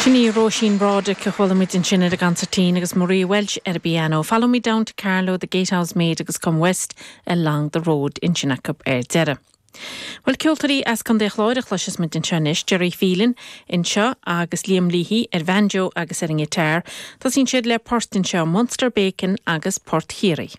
Sin í Róisín Broderick a chuala muid ansin ar an gconsairtín agus Maria Walsh ar an bpianó. Follow Me Down to Carlow, The Gatehouse Maid agus Come West Along the Road ansin acu ar deireadh. Bhuel, ceoltóirí as Contae an Chláir a chloisfeas muid anseo anois, Gerry Phelan anseo agus Liam Leahy ar bhanjo agus ar an ngiotár. Tosaíonn siad le port anseo, Munster Bacon agus Port Chiarraí.